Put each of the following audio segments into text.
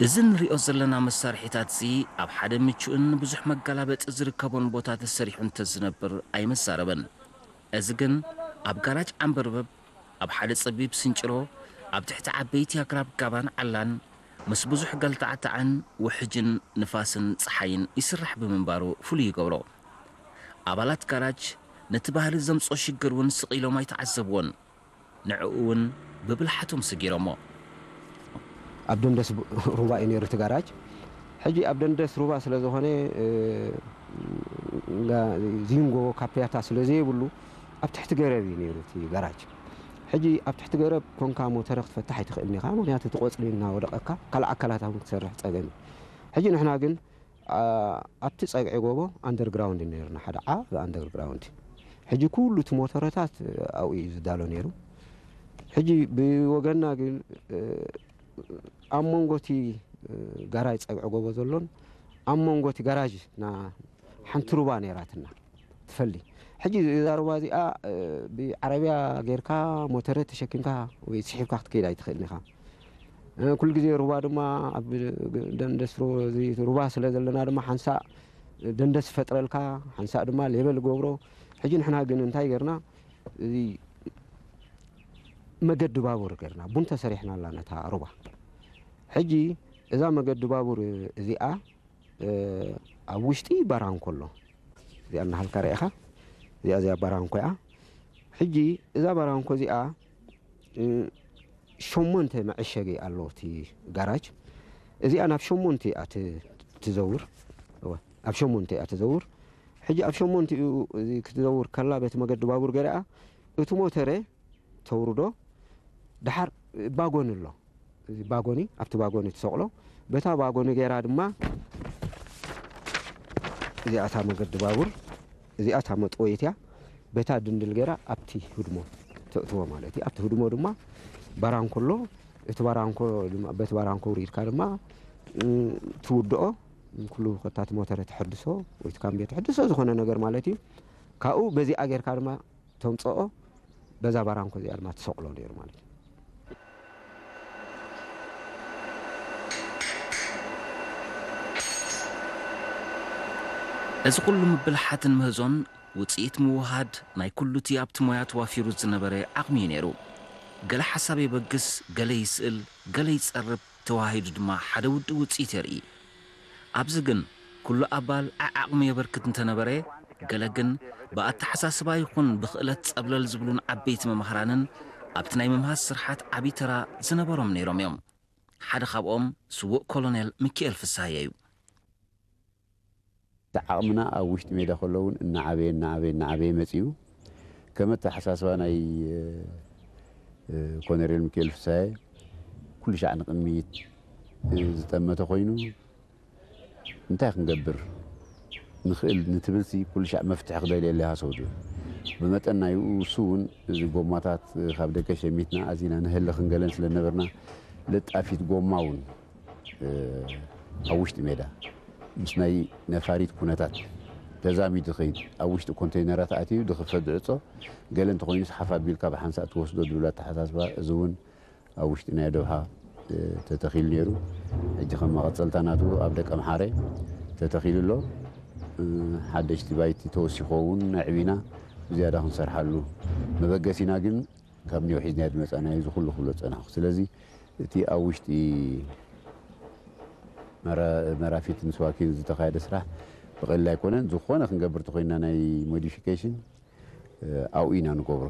እዚ ንሪኦ ዘለና መሳርሒታት እዚ ኣብ ሓደ ምቹእን ብዙሕ መጋላበጢ ዝርከቦን ቦታ ተሰሪሑ እንተዝነብር ኣይመዛረበን። እዚ ግን ኣብ ጋራጅ ዓምበርበብ፣ ኣብ ሓደ ጸቢብ ስንጭሮ፣ ኣብ ትሕቲ ዓበይቲ ኣግራብ ጋባን ዓላን፣ ምስ ብዙሕ ገልታዕታዕን ውሕጅን ንፋስን ጸሓይን ይስራሕ ብምንባሩ ፍሉይ ይገብሮ። ኣባላት ጋራጅ ነቲ ባህሊ ዘምጽኦ ሽግር እውን ስቕ ኢሎም ኣይተዓዘብዎን። ንዕኡ እውን ብብልሓቶም ስጊሮሞ። ኣብ ደንደስ ሩባ እዩ ነይሩ እቲ ጋራጅ። ሕጂ ኣብ ደንደስ ሩባ ስለ ዝኾነ፣ እ፣ ጋ-፣ ዚንጎ ካፕያታ ስለ ዘይብሉ ኣብ ትሕቲ ገረብ እዩ ነይሩ እቲ ጋራጅ። ሕጂ ኣብ ትሕቲ ገረብ ኮንካ ሞተረ ክትፈትሕ ኣይትኽእልን ኢኻ፣ ምኽንያቱ እቲ ቆጽሊ እናወደቐካ ካልእ ኣካላት እውን ክትሰርሕ ጸገም እዩ። ሕጂ ንሕና ግን፣ ኣ-፣ ኣብቲ ጸግዒ ጎቦ ኣንደርግራውንድ ነይሩና፣ ሓደ ዓቢ ኣንደርግራውንድ። ሕጂ ኩሉ እቲ ሞተረታት ኣብኡ እዩ ዝዳሎ ነይሩ። ሕጂ ብወገንና ግን፣ እ፣ ኣብ መንጎ እቲ፣ እ፣ ጋራጅ ጸግዒ ጎቦ ዘሎን ኣብ መንጎ እቲ ጋራጅ ና-፣ ሓንቲ ሩባ ነይራትና ትፈሊ። ሕጂ እዛ ሩባ እዚኣ፣ እ፣ ብዓረብያ ጌርካ ሞተረ ተሸኪምካ ወይ ስሒብካ ክትከይድ ኣይትኽእልን ኢኻ። እ፣ ኩሉ ግዜ ሩባ ድማ ኣብ ደንደስ ሩ-፣ እዚ ሩባ ስለ ዘለና ድማ ሓንሳእ ደንደስ ይፈጥረልካ፣ ሓንሳእ ድማ ሌበል ገብሮ። ሕጂ ንሕና ግን እንታይ ጌርና? እዚ መገዲ ባቡር ጌርና፣ ቡን ተሰሪሕናላ ነታ ሩባ። ሕጂ እዛ መገዲ ባቡር እዚኣ፣ እ፣ ኣብ ውሽጢ ባራንኮ ኣሎ። እዚኣ እናሃልካ ርኢኻ፣ እዚኣ፣ እዚኣ ባራንኮ እያ። ሕጂ እዛ ባራንኮ እዚኣ፣ እ፣ ሸሞንተ መዐሸጊ ኣለዎ እቲ ጋራጅ። እዚኣ ናብ ሸሞንተ እያ ት-፣ ትዘውር። እወ፣ ኣብ ሸሞንተ እያ ትዘውር። ሕጂ ኣብ ሸሞንቲኡ እዚ ክትዘውር ከላ በቲ መገዲ ባቡር ገይራ እቲ ሞተረ ተውርዶ። ደሓር ባጎኒ ኣሎ። እዚ ባጎኒ፣ ኣብቲ ባጎኒ ትሰቕሎ። በታ ባጎኒ ገይራ ድማ እዚኣ እታ መገዲ ባቡር፣ እዚኣ እታ መጥወይት እያ። በታ ድንድል ገይራ ኣብቲ ህድሞ ተእትዎ ማለት እዩ። ኣብቲ ህድሞ ድማ ባራንኮ ኣሎ። እቲ ባራንኮ ድማ፣ በቲ ባራንኮ ውሪድካ ድማ፣ እ፣ ትውድኦ። ኩሉ ከታ እቲ ሞተረ ተሐድሶ ወይ እቲ ካምብዮ ተሐድሶ ዝኾነ ነገር ማለት እዩ። ካብኡ በዚኣ ጌርካ ድማ ተምጽኦ፣ በዛ ባራንኮ እዚኣ ድማ ትሰቕሎ ነይሩ ማለት እዩ። እዚ ኩሉ ምብልሓትን ምህዞን ውጽኢት ምውሃድ ናይ ኩሉ እቲ ኣብቲ ሞያ ተዋፊሩ ዝነበረ ዓቕሚ እዩ ነይሩ። ገለ ሓሳብ የበግስ፣ ገለ ይስእል፣ ገለ ይጸርብ፣ ተዋሃሂዱ ድማ ሓደ ውዱእ ውጽኢት የርኢ። ኣብዚ ግን ኩሉ ኣባል ዓዓቕሙ የበርክት እንተነበረ፣ ገለ ግን ብኣተሓሳስባ ይኹን ብኽእለት ጸብለል ዝብሉን ዓበይቲ መማህራንን ኣብቲ ናይ ምምሃዝ ስርሓት ዓቢ ተራ ዝነበሮም ነይሮም እዮም። ሓደ ካብኦም ስዉእ ኮሎኔል ሚኪኤል ፍስሃየ እዩ። እቲ ዓቕምና ኣብ ውሽጢ ሜዳ ከሎ እውን እናዓበየ፣ እናዓበየ፣ እናዓበየ መጺኡ። ከም ኣተሓሳስባ ናይ፣ እ፣ እ፣ ኮነሬል ሚካኤል ፍስሃየ ኩሉ ሻዕ ንቕድሚት፣ እ፣ ዝጠመተ ኮይኑ፣ እንታይ ክንገብር ንኽእል ንትብልሲ ኩሉ ሻዕ መፍትሒ ክደልየሉ ይሃሰው ድብል። ብመጠን ናይኡ እሱ እውን እዚ ጎማታት ካብ ደገ ሸሚትና ኣዚና ንህሊ ክንገለን ስለ ነበርና፣ ለጣፊት ጎማ እውን እ፣ ኣብ ውሽጢ ሜዳ ምስ ናይ ነፋሪት ኩነታት ተዛሚዱ ዝኸይድ፣ ኣብ ውሽጢ ኮንተይነራት ኣትዩ ዝኽፈት ዝዕጾ፣ ገለ እንተኾይኑስ ሓፍ ኣቢልካ ብሓንሳእ ትወስዶ ዝብል ኣተሓሳስባ፣ እዚ እውን ኣብ ውሽጢ ናይ ዶብሓ፣ እ፣ ተተኺሉ ነይሩ። ሕጂ ከም መቐጸልታ ናቱ ኣብ ደቀምሓረ ተተኺሉ ኣሎ። እ፣ ሓደሽቲ ባይቲ ተወሲኾ እውን ኣዕቢና ብዝያዳ ክንሰርሓሉ መበገሲና ግን ካብ ኒው ሒዝናዮ ዝመጻናዮ እዚ ኩሉ ክብሎ ዝጸናሕኩ። ስለዚ እቲ ኣብ ውሽጢ መራ-፣ መራፊትን ስዋኪን ዝተኻየደ ስራሕ ብቐሊል ኣይኮነን። ዝኾነ ክንገብር ተኾይንና ናይ ሞዲፊኬሽን፣ እ፣ ኣብኡ ኢና ንገብሮ።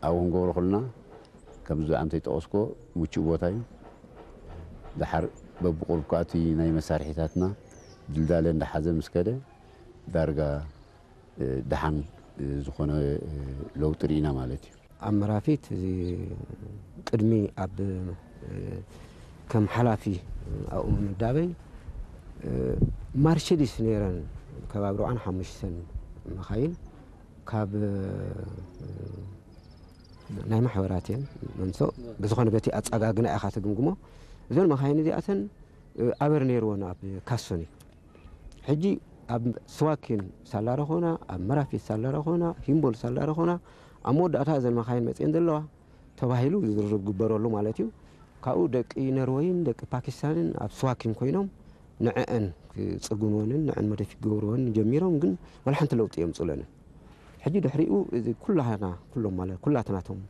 ኣብኡ ክንገብሮ ከለና ከምዚ ብዓምተይ ጠቐስኮ ምቹእ ቦታ እዩ። ደሓር በብቁሩብ ከኣ እቲ ናይ መሳርሒታትና ድልዳለ እንዳሓዘ ምስ ከደ ዳርጋ እ፣ ደሓን፣ እ፣ ዝኾነ፣ እ፣ ለውጢ ርኢና ማለት እዩ። ኣብ መራፊት እዚ ቅድሚ ኣብ፣ እ፣ ከም ሓላፊ ኣብኡ ምምዳበይ፣ እ፣ ማርቸዲስ ነይረን ከባቢ ኣርብዓን ሓሙሽተን መኻይን ካብ፣ እ፣ ናይ ማሕበራት እየን መምሶ ብዝኾነ በቲ ኣጸጋግና ኢኻ ትግምግሞ። እዘን መኻይን እዚኣተን፣ እ፣ ኣበር ነይርወን ኣብ ካሶኒ። ሕጂ ኣብ ስዋኪን ሳላ ረኾና፣ ኣብ መራፊት ሳላ ረኾና፣ ሂምቦል ሳላ ረኾና፣ ኣብ መወዳእታ እዘን መኻይን መጽየን ዘለዋ ተባሂሉ ዝርርብ ግበረሉ ማለት እዩ። ካብኡ ደቂ ነርወይን ደቂ ፓኪስታንን ኣብ ስዋኪን ኮይኖም ንዐአን ክጽግንወንን ንዐን መደፊ ክገብርወን ጀሚሮም፣ ግን ዋላ ሓንቲ ለውጢ የምጹለንን። ሕጂ ድሕሪኡ እዚ ኩላህና፣ ኩሎም ማለት ኩላትናቶም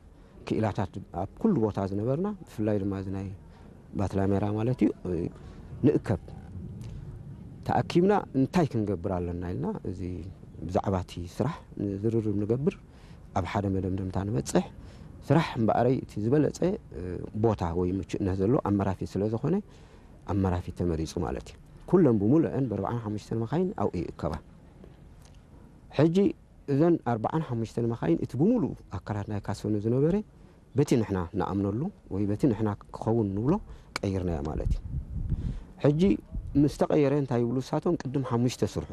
ክኢላታት ኣብ ኩሉ ቦታ ዝነበርና፣ ብፍላይ ድማ እዚ ናይ ባትላሜራ ማለት እዩ፣ ንእከብ። ተኣኪብና እንታይ ክንገብር ኣለና ኢልና፣ እዚ ብዛዕባ እቲ ስራሕ ዝርርብ ንገብር፣ ኣብ ሓደ መደምደምታ ንበጽሕ። ስራሕ እምበኣረይ እቲ ዝበለጸ ቦታ ወይ ምቹእነት ዘሎ ኣብ መራፊት ስለ ዝኾነ፣ ኣብ መራፊት ተመሪጹ ማለት እዩ። ኩለን ብምሉአን ብ45 መኻይን ኣብኡ ይእከባ። ሕጂ እዘን ኣርባዓን ሓሙሽተን መኻይን እቲ ብምሉኡ ኣካላት ናይ ካሶኒ ዝነበረ በቲ ንሕና ንኣምነሉ ወይ በቲ ንሕና ክኸውን ንብሎ ቀይርናዮ ማለት እዩ። ሕጂ ምስ ተቐየረ እንታይ ይብሉ ንሳቶም? ቅድም ሓሙሽተ ስርሑ፣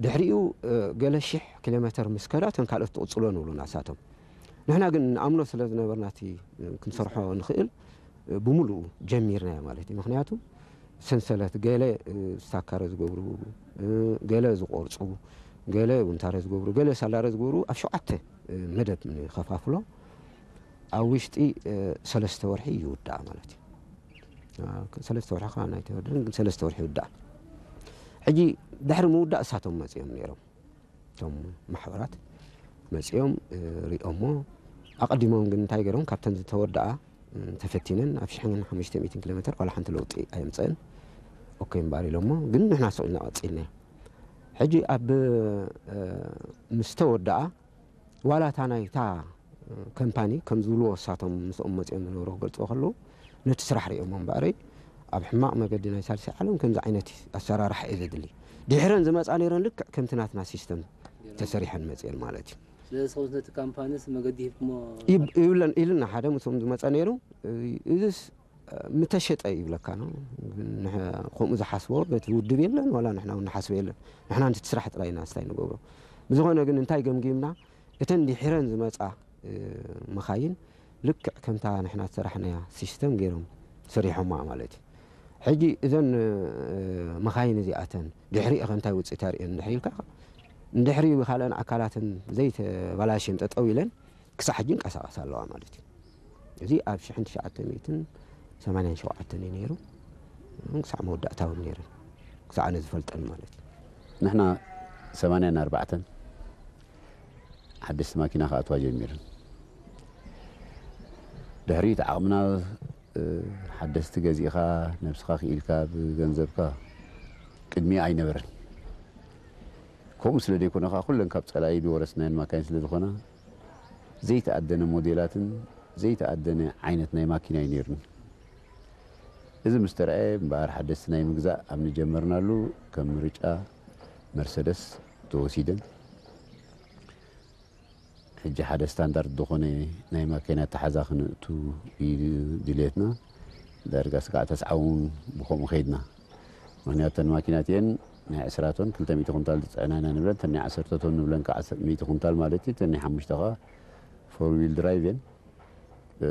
ድሕሪኡ፣ እ፣ ገለ ሽሕ ኪሎ ሜተር ምስ ከዳ እተን ካልኦት ትቕጽሎ ንብሉና ንሳቶም። ንሕና ግን ንኣምኖ ስለ ዝነበርና እቲ ክንሰርሖ ንኽእል፣ እ፣ ብምሉኡ ጀሚርናዮ ማለት እዩ። ምኽንያቱ ሰንሰለት ገለ፣ እ፣ ስታካረ ዝገብሩ፣ እ፣ ገለ ዝቖርጹ፣ ገለ ውንታረ ዝገብሩ፣ ገለ ሳላረ ዝገብሩ ኣብ ሸውዓተ፣ እ፣ መደብ ንኸፋፍሎ። ኣብ ውሽጢ፣ እ፣ ሰለስተ ወርሒ ይውዳእ ማለት እዩ። እ፣ ሰለስተ ወርሒ ከኣ ኣይተወደን፣ ግን ሰለስተ ወርሒ ይውዳእ። ሕጂ ድሕሪ ምውዳእ እሳቶም መጺኦም ነይሮም። እቶም ማሕበራት መጺኦም፣ እ፣ ሪኦሞ። ኣቐዲሞም ግን እንታይ ገይሮም? ካብተን ዝተወደኣ፣ እ፣ ተፈቲነን ኣብ ሽሕን ሓሙሽተ ሚእትን ኪሎ ሜተር ዋላ ሓንቲ ለውጢ ኣየምጸአን። ኦኬ እምበኣር ኢሎሞ፣ ግን ንሕና ስቕ ኢልና ቀጺልና። ሕጂ ኣብ፣ እ፣ ምስ ተወደኣ፣ ዋላ እታ ናይታ፣ እ፣ ከምፓኒ ከም ዝብልዎ እሳቶም ምስኦም መጺኦም ዝነበሩ ክገልጽዎ ከለዉ፣ ነቲ ስራሕ ሪኦሞ እምበኣረይ፣ ኣብ ሕማቕ መገዲ ናይ ሳልሳይ ዓለም ከምዚ ዓይነት ኣሰራርሓ እዩ ዘድሊ። ድሒረን ዝመጻ ነይረን ልክዕ ከምቲ ናትና ሲስተም ተሰሪሐን መጺአን ማለት እዩ። ስለዚ ሰብኡት ነቲ ካምፓኒስ መገዲ ሂብኩሞ? ይብ-፣ ይብለን፣ ኢልና ሓደ ምስኦም ዝመጸ ነይሩ። እዚስ፣ እ፣ ምተሸጠ ይብለካ ነው። ግን ንሕ-፣ ከምኡ ዝሓስቦ በቲ ውድብ የለን፣ ዋላ ንሕና እውን ንሓስቦ የለን። ንሕና ነቲ ስራሕ ጥራይ ኢና ስታይ ንገብሮ። ብዝኾነ ግን እንታይ ገምጊምና? እተን ድሒረን ዝመጻ፣ እ፣ መኻይን ልክዕ ከምታ ንሕና ዝሰራሕናያ ሲስተም ገይሮም ሰሪሖማ ማለት እዩ። ሕጂ እዘን፣ እ፣ መኻይን እዚኣተን ድሕሪኡ ከ እንታይ ውጽኢት ኣርእየን እንድሕር ኢልካ፣ እንድሕሪ ብኻልኦን ኣካላትን ዘይተባላሽየን ጠጠው ኢለን ክሳዕ ሕጂ ይንቀሳቐሳ ኣለዋ ማለት እዩ። እዚ ኣብ ሽሕን ትሽዓተ ሚእትን ሰማንያን ሸውዓተን እዩ ነይሩ። ክሳዕ መወዳእታ እውን ነይረን፣ ክሳዕ ኣነ ዝፈልጠን ማለት እዩ። ንሕና ሰማንያን ኣርባዕተን ሓደስቲ ማኪና ክኣትዋ ጀሚረን። ድሕሪት ዓቕምና፣ እ፣ ሓደስቲ ገዚእኻ፣ ነብስኻ ክኢልካ፣ ብገንዘብካ ቅድሚ ኣይነበረን። ከምኡ ስለ ዘይኮነ ኸዓ፣ ኩለን ካብ ጸላኢ ዝወረስናየን ማካይን ስለ ዝኾና፣ ዘይተኣደነ ሞዴላትን ዘይተኣደነ ዓይነት ናይ ማኪና እዩ ነይሩን። እዚ ምስ ተረኣየ እምበኣር፣ ሓደስቲ ናይ ምግዛእ ኣብ ንጀመርናሉ፣ ከም ምርጫ መርሰደስ ተወሲደን። ሕጂ ሓደ ስታንዳርድ ዝኾነ ናይ ማኪና ኣተሓዛ ክንእቱ እዩ ድልየትና። ዳርጋ ስጋዕ ተስዓውን ብኸምኡ ከይድና። ምኽንያቱ፣ እተን ማኪናት እየን ናይ ዕስራ ቶን፣ ክልተ ሚእቲ ኩንታል ዝጽዕና ኢና ንብለን፣ እተን ናይ ዓሰርተ ቶን ንብለን ከዓ፣ ሚእቲ ኩንታል ማለት እዩ፣ እተን ናይ ሓሙሽተ ከዓ ፎር ዊል ድራይቭ እየን። እ፣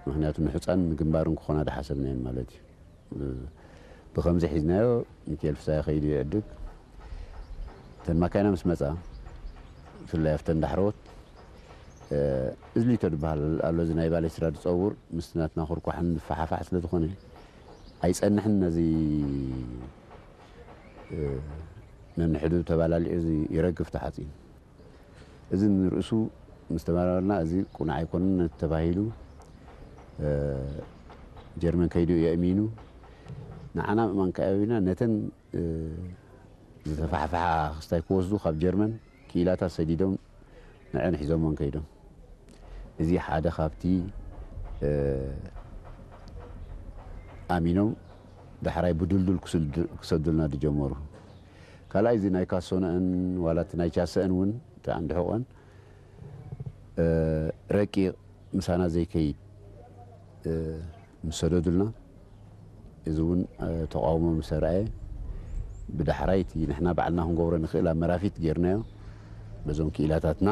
ምኽንያቱ፣ ንሑጻን ንግንባርን ክኾና ዝሓሰብና እየን ማለት እዩ። እ፣ ብኸምዚ ሒዝናዮ፣ ሚካኤል ፍስሃየ ከይዱ ይዕድግ። እተን ማካይና ምስ መጻ፣ ብፍላይ ኣብተን ዳሕረዎት፣ እ፣ እዝሊቶ ዝበሃል ኣሎ፣ እዚ ናይ ባሌስትራ ዝጸውር፣ ምስቲ ናትና ኩርኳሕን ዝፈሓፋሕ ስለ ዝኾነ፣ ኣይጸንሕን። ነዚ፣ እ፣ ነንሕዱ ተባላሊዑ እዚ ይረግፍ ተሓጺን። እዚ ንርእሱ ምስ ተመራመርና፣ እዚ ቁኑዕ ኣይኮነን ተባሂሉ፣ እ፣ ጀርመን ከይዱ የእሚኑ። ንዓና ምእማን ከኣቢና፣ ነተን፣ እ፣ ዝተፋሕፈሓ ክስታይ ክወስዱ ካብ ጀርመን ክኢላታት ሰዲዶም ንዐን ሒዞሞን ከይዶም። እዚ ሓደ ካብቲ፣ እ፣ ኣሚኖም ዳሕራይ ብድልዱል ክስድ-፣ ክሰዱልና ዝጀመሩ። ካልኣይ፣ እዚ ናይ ካሶነአን ዋላ እቲ ናይ ቻሰአን እውን፣ እቲ ዓንዲ ሕቖን፣ እ፣ ረቂቕ ምሳና ዘይከይድ፣ እ፣ ምስ ሰደዱልና፣ እዚ እውን፣ እ፣ ተቃውሞ ምስ ኣርኣየ፣ ብዳሕራይ እቲ ንሕና ባዕልና ክንገብሮ ንኽእል ኣብ መራፊት ጌርናዮ፣ በዞም ክኢላታትና።